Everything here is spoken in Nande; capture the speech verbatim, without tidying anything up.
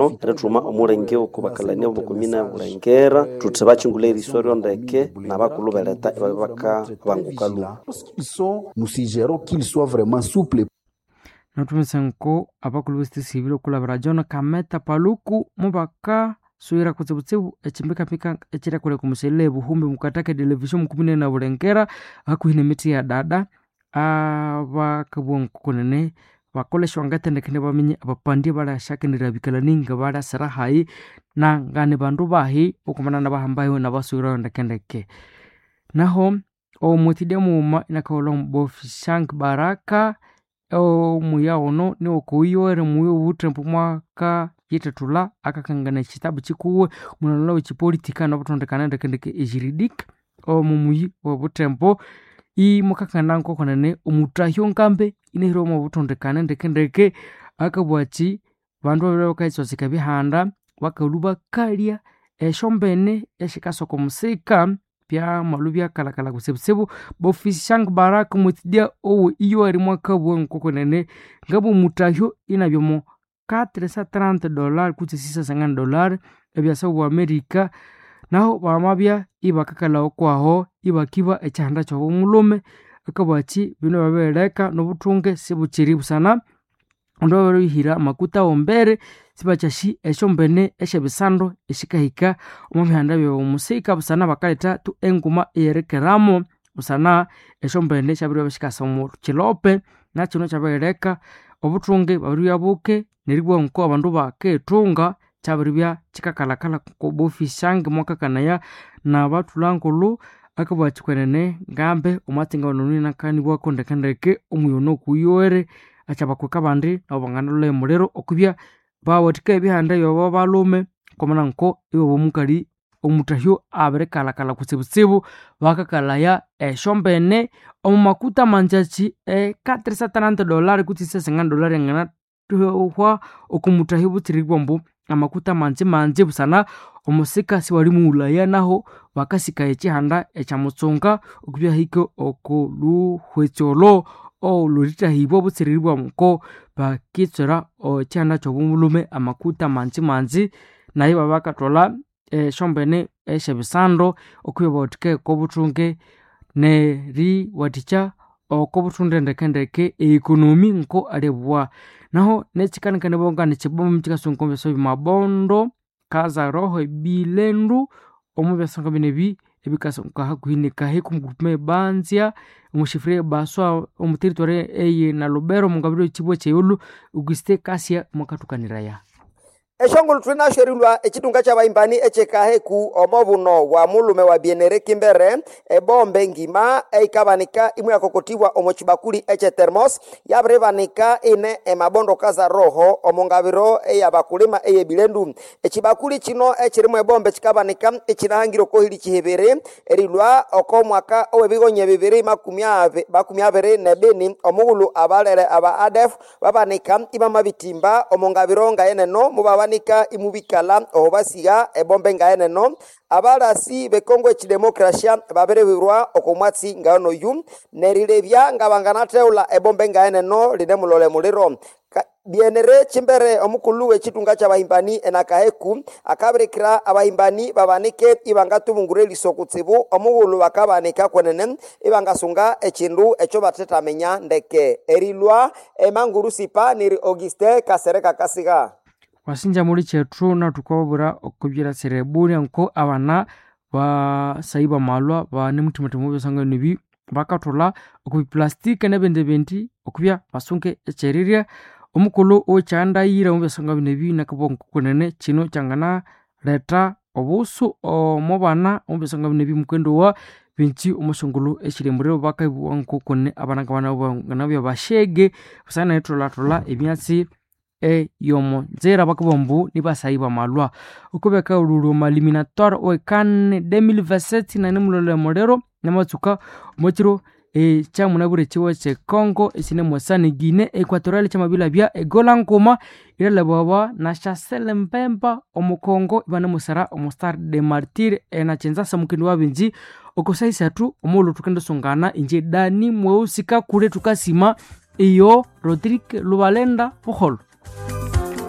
Erithuma omulenge oko bakalania bomukomine ya Bulengera thuthi bakingule eriso ryondeke nabakulhu beleta ibabya bakabanguka lhuba. Lorsqu'ils sont, nous suggérons qu'ils soient vraiment souples. Nathumisa nko abakulhu besitesibile okulabira John Kameta Paluku mubakasuyira kutsibutsibu ekimbikambika ekiriakoleka omuselele ebuhumbi mukataka edelevisão mukumine na Bulengera hakuhi nemithi ya dada abakabugha nkokunene bakolesya ngathendekene baminya abapandi abalhasyakenderya bikalani ngabalyasira hayi na ngani bandu bahi okumana nabahambayo nabasuyirayo ndekendeke. Naho omwithidya mughuma inakaghulha omubofi Shank Baraka omuya ono niwokoyowere muya obuthembu mwaka yithethulha akakangana ekitabu kikuwe omulhango wekyipolitika nobuthondekana ndekendeke ejuridique omumuyi owobuthembo imwakakangana nkokunene omutahyo ngambe inahira omobuthondekana ndekendeke akabugha athi bandu babiri bakayitswatsika ebihanda bakalhwa bakalya esyombene esyikasoka omusika byamalhwa ibyakalhakalha kutsibutsibu. Bofisi Shank Baraka omwithidya owe iyoweri mwakabugha nkokunene ngabugha omutahyo inabya omo quatre cent trente dollars kutse six cent cinquante dollars ebyasa obu America naho bamabya ibakakalha okwaho ibakiba ekyihanda kyobumulhume akabugha athi bino babirileka nobuthunge sibukyiri busana omundu ababirihira amakuta awombere sibakyasi esyombene esyebisando esikahika omo bihanda byomusika busana bakaletha tu enguma eyerikeramu busana esyombene syabiribya sikasa omo kilope nakino kyabirileka obuthunge bwabiribya buke neribugha nko abandu bakithunga kyabiribya kyikakalhakalha kobofisi mwakakanaya nabathulha akabugha athi kwenene ngambe omwatsi ngawunonu inakanibwako ndekendeke omuyono okuyowere akyabakweka abandi nabo banganalholha emuliro okwibya bawathika ebihanda byabo balhume kwamana nko iwabya omukali omutahyo abirikalhakalha kutsibutsibu bakakalhaya esyombene omo makuta mangyakyi e quatre cent trente dollars kutse six cent cinquante dollars yanganathuhwa oko mutahyo butsiribwa ambu amakuta mangi mangi busana omusika siwalimughulhaya naho bakasikaya ekyihanda ekyamutsunga okwibya hike oko luhwetsi olho olhurithahibwa butsiriribwa nko bakitswera ekyihanda kyobulhume amakuta mangi mangi nayo ibabakatholha esyombene esyebisando okwibya bawathikaya okobuthunge neriwathikya okobuthunde ndekendeke economy nko alibugha. Naho nekyikanikanibawa nganikyibomba kyikasunga omo byasa byamabondo kazaroho ebilendu omo byasa ngabino ebi ebikasunga hakuhi nikahiku omugroupement ebanzya omushifria ebaswa omu territory eye Nalubero omungabiro yekyibwa kyeyolho Auguste Kasia mwakathukaniraya. Eshongolo thunasyo erilhwa ekitunga ky'abahimbani ekyekaheku omo buno bwa mulume wa Bienere Kimbere ebombe ngima eikabanika imwe yakokotibwa omo kibakuli ekye thermos yabiribanika ine emabondo kaza roho omo ngabiro eyabakulima eyebilendu. Ekibakuli kino ekirimu ebombe kikabanika ekinahangire okohili kihibiri erilhwa oko mwaka owebigonya bibiri makumi abi makumi abiri nebini omughulhu abalere aba A D F babanika ibamabitimba omo ngabiro ngayeneno mubabanika imubikalha oho basiga ebombe ngayeneno. Abalasi bekongo ekidemokrasia babiribirwa oko mwatsi nganoyu nerilebya ngabanganatheghulha ebombe ngayeneno linemulole muliro. Bienere Chimbere omukulhu w'ekitunga ky'abahimbani enakaheku akabirikira abahimbani babanike ibangatubungura eriso kutsibu omughulhu bakabanika kwenene ibangasunga ekindu ekyo bathethamenya ndeke. Erilhwa emanguru sipa niri Auguste Kasereka Kasiga. Wasinja muli kyethu nathukababwira okubyiratsira ebulya nko abana basayi bamalwa banemuthima ebyasangano ebi bakathulha okubiplastika nebindi bindi okubya basunge ekyerirya. Omukulhu owekyandaira omu byasanga bino ebi nakabugha nkokunene kino kyanganaletha obusu omo bana omu byasanga bino ebi mukendowa bingi omusyongulhu esyiri emuliro bakabugha nkokunene abana ngabanabya bashege busana neritholhatholha emyatsi eyomo nzira bakabugha ambu nibasayi bamalwa. Okubakaghulhulha omu eliminatoire owekane deux mille vingt-sept nanemulolha emuliro namatsuka omwakiro ekyamunabwire ekiwa kye Congo ekinemwasa ne Guinea Equatorial kyamabilhabya egola nguma erilhabawa na Chancel Mbemba omu Congo ibanemusara omu Stade des Martyrs enakyenzasa omukendi wabingi oko saha isathu omughulhu thukendisungana inje Dani Mweusi Kakule thukasima iyo Rodrigue Lubalenda buholho.